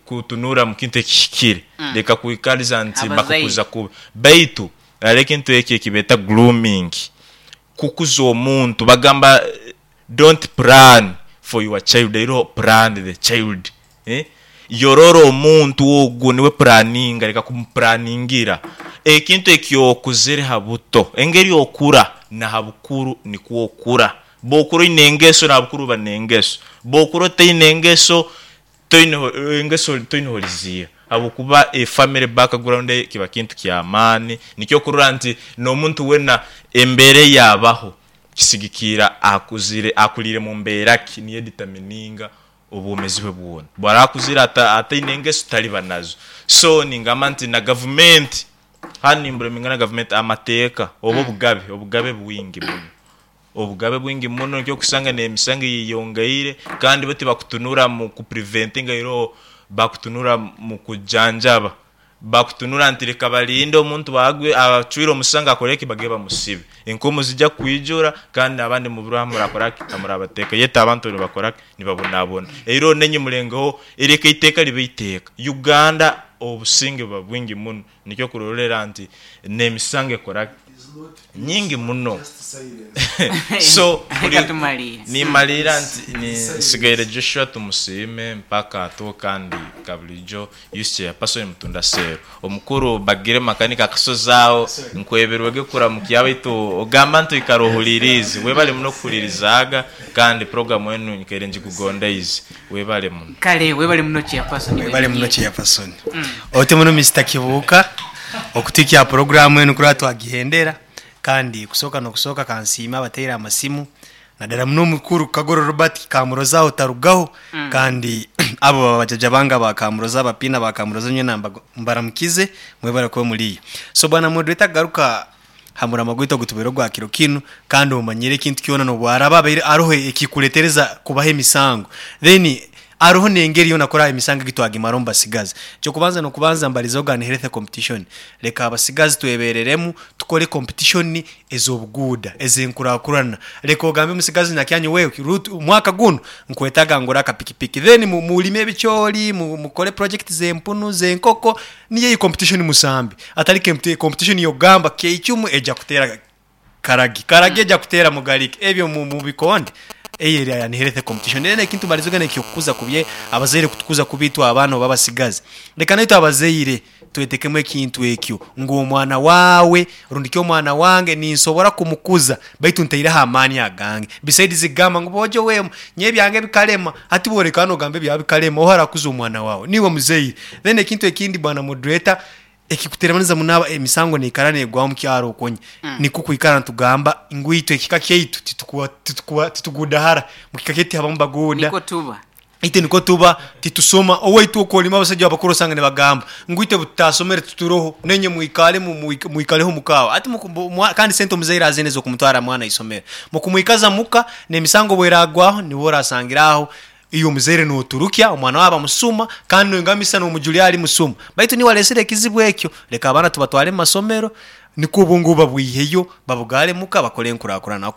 Kutunura mu kintu ekihikire. Leka kwikariza nti Abazaire. bakukuza kubi. Baitu hariho ekintu eki ekibeeta grooming, kukuza omuntu. Bagamba don't plan for your child, iroho plan the child. Yorora omuntu ogwo niwe puraninga, leka kumupuraningira. Ekintu eki okuzire ha buto, engeri okura na ha bukuru nikwo okura. Bw'okura oine engeso na ha bukuru oba n'engeso. Bw'okura otaine engeso, Toine engeso toine horiziiha habwokuba e family background eyo kiba kintu kyamaani nikyo okurora nti nomuntu wena embeera eyabaho kisigikiira akuzire akuliire mumbeera ki niyo editamininga obwomezi bwe bwona. Bwaraba akuzire ataine engeso tariba nazo. So ningamba nti na gavumenti hanu nimbureminga na gavumenti amateeka oba obugabe, obugabe bwingi muno. Obugabe bwingi muno nikyo okusanga n'emisango eyeyongeire kandi bo tibakutunura mu ku preventinga iroho bakutunura mu kujanjaba. Bakutunura nti leka balinde omuntu agwe acwire omusango akore ki bagende bamusibe. Enkomo zija kwijura kandi n'abandi mubure ahu murakora ki ahu murabateeka yet abantu nibakora ki nibabonabona. Iroho nainywe mulengeho leka eiteeka libe iteeka. Uganda obusinge buba bwingi muno nikyo okurorera nti n'emisango ekora ki nyingi muno. So Reka tumariire. nimariira nti nsigaire Joshua Tumusiime mpaka atuho kandi kabulijo youth chairperson Mutunda Cell. Omukuru Bagire Makanika akasozi aho nkwebirwege kuramukya baitu ogamba nti oikara ohuliriize. Webale muno kuhulirizaaga kandi program enu nyikaire ngikugondeize. Webale muno. Kale webale muno chairperson Webale muno chairperson. Oti muno Mister Kibuuka okutuhikya aha puroguramu enu kuraba twagihendera kandi kusooka n'okusooka kansiime abateire amasimu nadara muno omukuru Kagoro Robert Kamuroza aho tarugaho kandi abo baba bajaja bange aba Kamuroza abapiina ba Kamuroza nyowe mbaramukize mwebale kuba muriyo. So bwana moderator kugaruka ha murama gwaitu ogutubaire ogwa kiro kinu kandi omanyire ekintu kyona nobu araba abaire aroho ekikuretereza kubaho emisango then aroho nengeri yona kuraba emisango egi twagimara omu basigazi. Ekyokubanza nokubanza mbarize ogan health competition reka abasigazi twebereremu tukore competition ezobuguuda ezenkurakurana reka ogambe omusigazi nakyanyu we omwaka gunu nkwetaga ngure akapikipiki then murime ebicoori mukore project zempunu zenkoko Niyo eyi competition musambi atari competition yokugamba keicumu eja kutera karagi, karagi eja kutera mugariki ebyo mubikonde eyo eri unhealthy competition. Then ekintu mbarize ogende ekyokukuza kubi abazaire kutukuza kubi itwe abaana oba abasigazi reka naitwe abazaire twetekemu ekintu ekyo ngu omwana wawe rundi ki omwana wange ninsobora kumukuza Baitu ntaireho amaani agange. Besides kugamba ngu boojo weema, nyowe ebyange bikarema. Hati bworeka nogamba ebyawe bikarema, oha arakuza omwana waawe? Niiwe muzaire. Then ekintu ekindi bwana moderator, ekikuteremaniza muno aba emisango neikara negwaho omu kyaro okwo nye, nikwo kwikara nitugamba ngu itwe ekika kyaitu titukuwa titukuwa titugudahara. Mukika kyaitu tihabamu baguuda. Nikwo tuba. Itwe nikwo tuba, titusoma. Owaitu okwo orimu abasaija abakuru osanga nibagamba ngu itwe obututasomere tituroho, nainywe mwikare mwikareho muka aho. Hati kandi sente omuzaire aziine ez'okumutwara mwana aisomero. Mukumwikaza muka, n'emisango obu eragwaho, niwe orasangira aho iwe omuzaire noturukya omwana wawe bamusuma kandi noingamisa n'omujuri ari musuma. Baitu niiwe aresire ekizibu ekyo. Leka abaana tubatware omu masomero nikwo obwongo babwiheyo babugare muka bakore enkurakurana.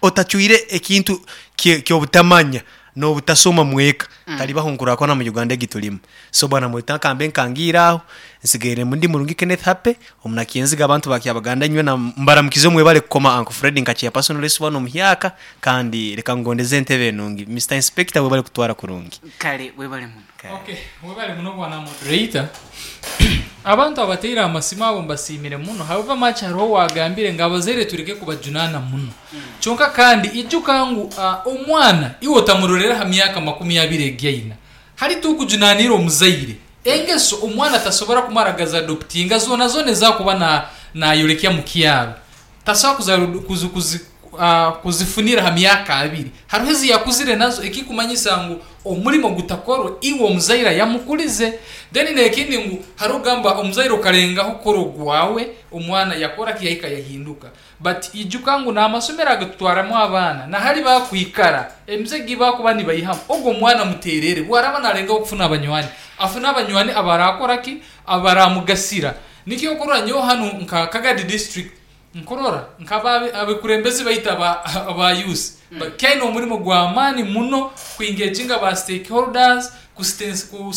Otacwire ekintu ky'obutamanya n'obutasoma mweka, talibaho nkurakurana mu Uganda egi tulimu. So bwana Mwita nkambe nkangiire aho, nsigaire ndi murungi Kenneth Happy, omunakinziga abantu ba Kyabaganda inywena mbaramukize mwebale kukoma Uncle Fred nka chairperson Lesi wanu omuhyaka kandi leka ngondeze entebe enungi. Mister Inspector webale kutwara kurungi. Kale webale muno. Ok webale muno bwana moderator. Abantu abateire amasimu abo mbasiimire muno however much hariho owagambire ngu abazaire tureke kubajunaana muno. Kyonka kandi ijuka ngu omwana iwe otamurorera aha myaka 20 egi aina. Hali tokujunanira omuzaire. Engeso omwana tasobora kumara gazi adoptinga zona zona ezi akuba nayorekya mukyaro. Tasobola kuzifunira ha myaka abiri. Haroho ezi yakuzire nazo ekikumanyisa ngu omurimo gutakorwe iwe omuzaire ayamukulize. Then nekindi ngu haroho ogamba omuzaire okalengaho kukora ogwawe omwana yakora ki yahika yahinduka. But ijuka ngu namasomero agatutwaramu abaana nahali bakwikara emize egi bakuba nibaihamu ogu omwana muterere bwaraba nalengaho kufuna abanywani afune abanywani abarakora ki abaramugasira. Nikyo okurora nyowe hanu nka Kagadi district nkurora nka abekurembezi baitu aba youth bakyaine omurimo gw'amaani muno ku engaginga ba stakeholders, ku.